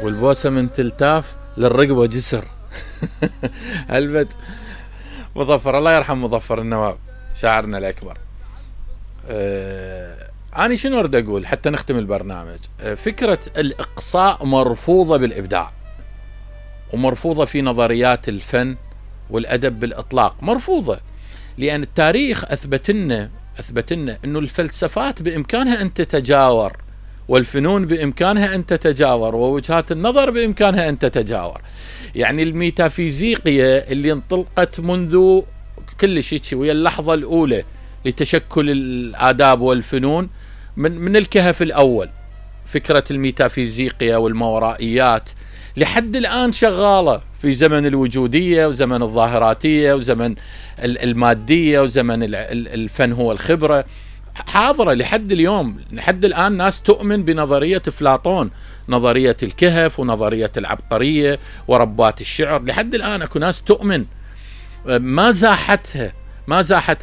والبوسة من تلتاف للرقبة جسر. هلبت مظفر، الله يرحم مظفر النواب شاعرنا الأكبر. أنا شنو أريد أقول حتى نختم البرنامج؟ فكرة الإقصاء مرفوضة بالإبداع، ومرفوضة في نظريات الفن والأدب بالإطلاق، مرفوضة، لأن التاريخ أثبت لنا أنه الفلسفات بإمكانها أن تتجاور، والفنون بإمكانها أن تتجاور، ووجهات النظر بإمكانها أن تتجاور. يعني الميتافيزيقية اللي انطلقت منذ كل شيء ويا اللحظة الأولى لتشكل الآداب والفنون من الكهف الأول، فكرة الميتافيزيقية والماورائيات لحد الآن شغالة في زمن الوجودية وزمن الظاهراتية وزمن المادية وزمن الفن هو الخبرة، حاضرة لحد اليوم. لحد الآن ناس تؤمن بنظرية أفلاطون، نظرية الكهف ونظرية العبقرية وربات الشعر، لحد الآن أكو ناس تؤمن، ما زاحتها.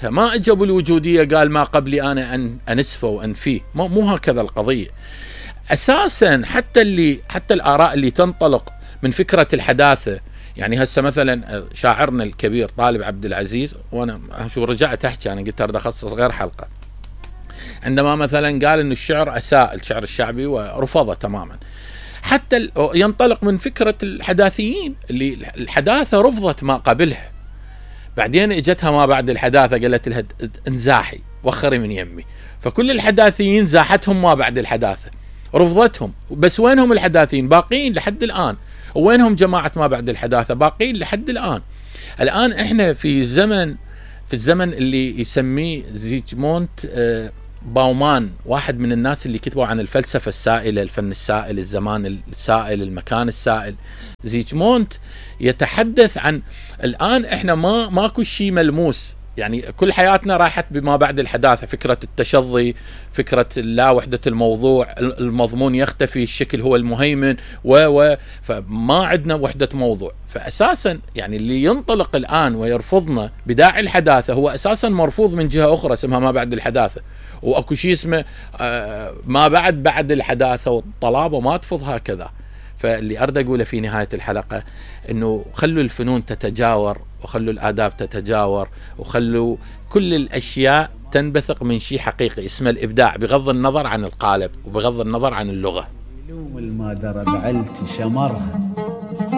ما اجوا الوجودية قال ما قبلي أنا أن أنسفه وأنفيه، مو هكذا القضية أساسا. حتى الآراء اللي تنطلق من فكرة الحداثة، يعني هسه مثلا شاعرنا الكبير طالب عبد العزيز، وانا شو رجعت احكي، انا قلت اريد اخصص غير حلقة، عندما مثلا قال انه الشعر اساء، الشعر الشعبي، ورفضه تماما. حتى ينطلق من فكرة الحداثيين اللي الحداثة رفضت ما قبلها، بعدين اجتها ما بعد الحداثة قالت لها انزاحي وخري من يمي، فكل الحداثيين زاحتهم ما بعد الحداثة، رفضتهم. بس وينهم الحداثيين؟ باقين لحد الآن. وينهم جماعة ما بعد الحداثة؟ باقين لحد الآن. الآن احنا في الزمن اللي يسميه زيجموند باومان، واحد من الناس اللي كتبوا عن الفلسفة السائلة، الفن السائل، الزمان السائل، المكان السائل. زيجموند يتحدث عن الآن احنا ماكو شيء ملموس، يعني كل حياتنا راحت بما بعد الحداثة، فكرة التشظي، فكرة لا وحدة الموضوع، المضمون يختفي، الشكل هو المهيمن، فما عندنا وحدة موضوع. فأساسا يعني اللي ينطلق الآن ويرفضنا بداعي الحداثة هو أساسا مرفوض من جهة أخرى اسمها ما بعد الحداثة، وأكو شيء اسمه ما بعد الحداثة، والطلابة ما تفض هكذا. فاللي أريد أقوله في نهاية الحلقة إنه خلوا الفنون تتجاور، وخلوا الآداب تتجاور، وخلوا كل الأشياء تنبثق من شيء حقيقي اسمه الإبداع، بغض النظر عن القالب وبغض النظر عن اللغة. ما درب علت شمرها